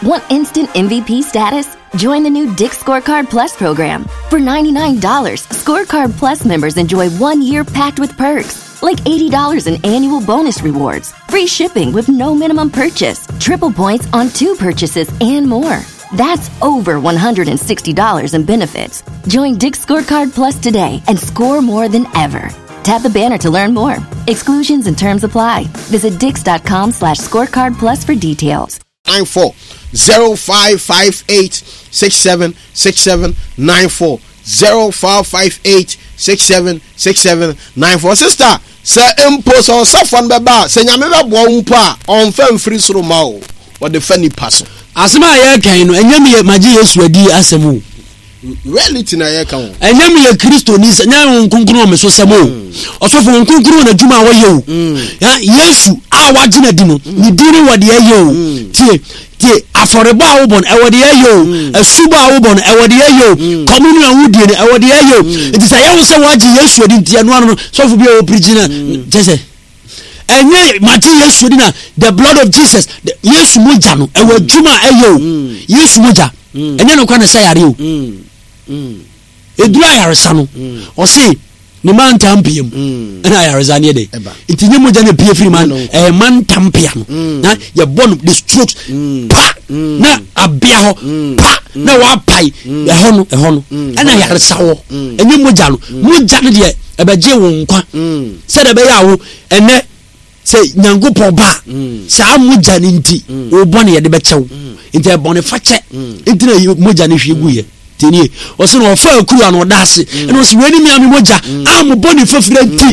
Want instant MVP status? Join the new Dick's Scorecard Plus program. For $99, Scorecard Plus members enjoy 1 year packed with perks, like $80 in annual bonus rewards, free shipping with no minimum purchase, triple points on two purchases, and more. That's over $160 in benefits. Join Dick's Scorecard Plus today and score more than ever. Tap the banner to learn more. Exclusions and terms apply. Visit dix.com/scorecard plus for details. 94 0558 67 67 94 0558 67 67 94. Sister, sɛ mpo sɛ ɔsɔfoɔ no bɛba a, sɛ Nyame bɛboa wo mpo a, ɔmfa mfiri soro ma wo, ɔde fa nipa so. Asɛm a yɛreka yi no, ɛnyɛ meyɛ magye Yesu adi asɛm o. Reality na yɛreka o. Ɛnyɛ meyɛ Kristoni sɛ nyɛ Honhom Kronkron wɔ me so sɛm o. Ɔsɔfo, Honhom Kronkron wɔ n'adwuma a wɔyɛ o. Ya, Yesu a wagye no adi no, ne din no wɔ deɛ ɛyɛ o. Tie, tie, afɔrebɔ a wobɔ no, ɛwɔ deɛ ɛyɛ o. Asubɔ a wobɔ no, ɛwɔ deɛ ɛyɛ o. Communion a wodie no, ɛwɔ deɛ ɛyɛ o. Nti sɛ ɛyɛ wo sɛ woagye Yesu adi nti ɛno ano no, sɔfo bi a ɔpirikyi no, kyɛ sɛ ɛnyɛ magye Yesu adi na the blood of Jesus, the, Yesu mogya no, ɛwɔ adwuma a ɛyɛ o. Yesu mogya, ɛnyɛ no kwa na ɛsɛ yare o. Ɛduru ayaresa no, ɔse ne mantam pia mu ɛna ayaresa no yɛ dɛ. Nti nyɛ mogya na pie firi ma, ɛyɛ mantam pia no na yɛbɔ no the strokes pa na abea hɔ pa na wapae ɛhɔ no, ɛhɔ no ɛna ayaresa wɔ. Ɛnyɛ mogya no, mogya no deɛ ɛbɛgye wo nkwa sɛdeɛ ɛbɛyɛ a wo ɛnɛ sɛ Nyankopɔn ba a, saa mogya no nti wo bɔne yɛde bɛkyɛ wo. Nti ɛbɔne fakyɛ nti na mogya no hwie guiɛ. Tinie, ɔsɛ na ɔfa akuru ano ɔda ase ɛna ɔsɛ wei ne me ame mogya a mo bɔne fafira nti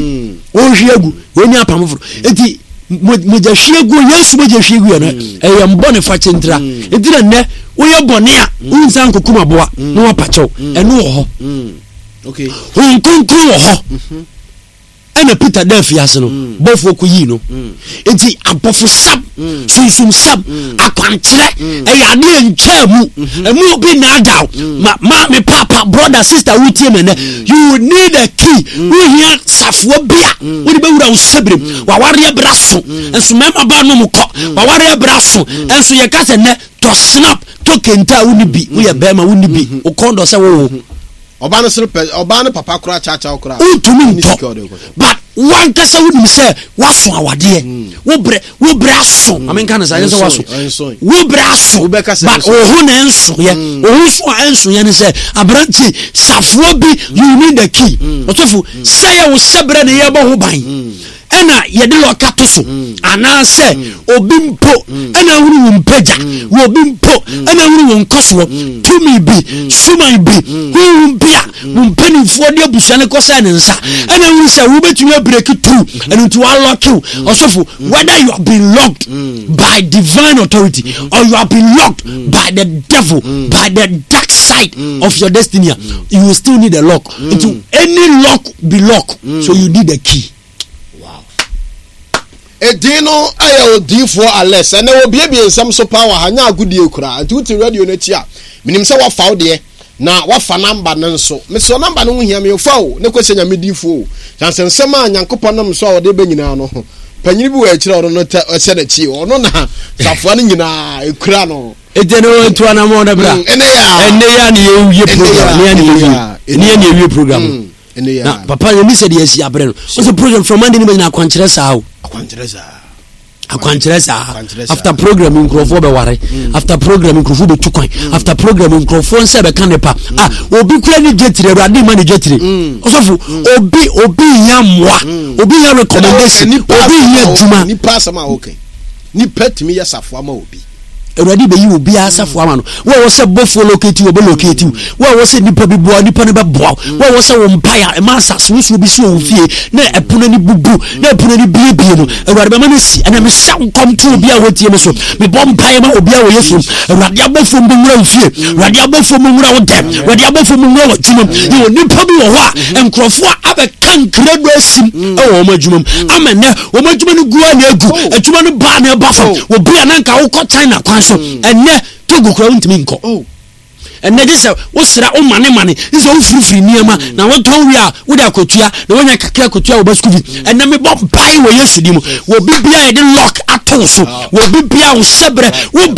ɔhwie agu, wei ne apam foforɔ. Nti mogya hwie gu, Yesu mogya hwie gu yɛ no ɛyɛ mbɔne fakyɛ ntira. Nti na nnɛ woyɛ bɔne a wonsan nkɔkum aboa na wapakyɛw, ɛno wɔ hɔ. Honhom Kronkron wɔ hɔ. Ɛna Peter da afiase no, bɔfoɔ kɔyii no. Nti abɔfosɛm, sunsumsɛm, akwankyerɛ ɛyɛ adeɛ ntwaa mu. Ɛmu obi nnaadaw. Ma maame, papa, brother, sister wotie me nnɛ, you need a key. Wohia safoa bi a wode bɛwura wo sɛberem. Wawareɛ bra so nso mmarima ba nom kɔ. Wawareɛ bra so nso yɛka sɛ nnɛ tɔ snap, tɔ kente a wonni bi. Woyɛ bɛrima wonni bi. Wo kɔn dɔ sɛ wowo. Ɔbaa no sere pɛ, ɔbaa no papa koraa kyaakyaa koraa. Wontumi ntɔ, but wankasa wonim sɛ woaso awadeɛ. Wo brɛ, wo brɛ aso. Maame nka no saa, ɛnyɛ sɛ woaso. Wo brɛ aso, but wo ho na ɛnsoyɛ. Wo ho so a ɛnsoyɛ ne sɛ, aberante, safoa bi, you need the key. Ɔsɔfo, sɛ yɛ wo sɛbrɛ na yɛbɔ ho ban. Ɛna yɛde lɔka to so, anaasɛ obi mpo ɛna ahunu wo mpagya, wɔ obi mpo ɛna ahunu wo nkɔsoɔ, tumi bi, suman bi, honhom bi a wo mpanimfoɔ de abusua no kɔsɛ ne nsa ɛna ahunu sɛ wobɛtumi abreak through, ɛno nti wɔalɔke wo. Ɔsɔfo, whether you have been locked by divine authority or you have been locked by the devil, by the dark side of your destiny, you will still need a lock. Nti any lock be lock, so you need a key. Wow. Edin no yɛ odiyifoɔ Alex. Ɛnɛ wɔbiebie nsɛm so paa wɔ ha, nyɛ agodie koraa. Nti wote radio no akyi a, menim sɛ woafa wo deɛ, na woafa namba no nso. Mesrɛ namba no ho hia me o, fa o, ne kɔhyɛ Nyame diyifoɔ o. Kyane sɛ nsɛm a Nyankopɔn nam so a ɔde ba nyinaa no, panyini bi wɔ akyire a ɔno no tɛ ɔhyɛ n'akyi o. Ɔno na safoa no nyinaa ɛkura no. Ɛgya ne wɔn ntu anamɔ no bra. Ɛnɛ yɛ a. Ɛnɛ yɛ a ne yɛwie program. Ɛnɛ yɛ a ne yɛwie. Ɛnɛ yɛ ne yɛwie program. Na papa yɛn ni sɛ deɛ asi abrɛ no. Ɔsɛ program from Monday ne ma nyina akwankyerɛ saa o. Akwankyerɛ saa. Akwankyerɛ saa. After program nkurɔfoɔ bɛware. After program nkurɔfoɔ bɛtu kwan. After program nkurɔfoɔ nsa bɛka ne pa. Ah, obi kura ne dwetire, Awurade ma ne dwetire. Ɔsɔfo, obi obi hia mmoa, obi hia recommendation, obi hia adwuma. Nipa asɛm a wɔka nipa tumi yɛ safoa ma obi. Awurade bɛyi obiara asafo ama no. Wo a wɔ sɛ bɔfoɔ locate wo, ɔbɛ locate wo. Wo a wɔ sɛ nipa bi boa wo, nipa no bɛboa wo. Wo a wɔ sɛ wo mpaeɛ a ɛma asase wosoɔ bi si wɔ wo fie na ɛpono ani bubu na ɛpono ani biebie no, Awurade bɛma no asi. Ɛnna mehyɛ nkɔm to obiara a wɔtie me so. Mebɔ mpaeɛ ma obiara wɔ Yesu mu. Awurade abɔfoɔ mbɛwura wo fie. Awurade abɔfoɔ mbɛwura wo dɛm. Awurade abɔfoɔ mbɛwura w'adwuma mu. Yɛwɔ nipa bi wɔ hɔ a nkurɔfoɔ abɛka nkrado asim wɔ wɔn adwuma mu. Ama nnɛ Wɔn adwuma no gu a na egu. Oh. Adwuma no ba na ɛba fam. Oh. Obi a na nka wokɔ China kwan so. Ɛnnɛ Togo kura wontumi nkɔ. Oh. Ɛnnɛ gye sɛ wosra wo mane mane gye sɛ wofirifiri nneɛma na wotɔn wie a wode akɔtua na woanya kakra akɔtua wo ba school fees. Ɛnnɛ mebɔ mpae wɔ Yesu din mu. Wɔ obi biara yɛde lock ato wo so. Wɔ obi biara wo hyɛbrɛ wo brɛ.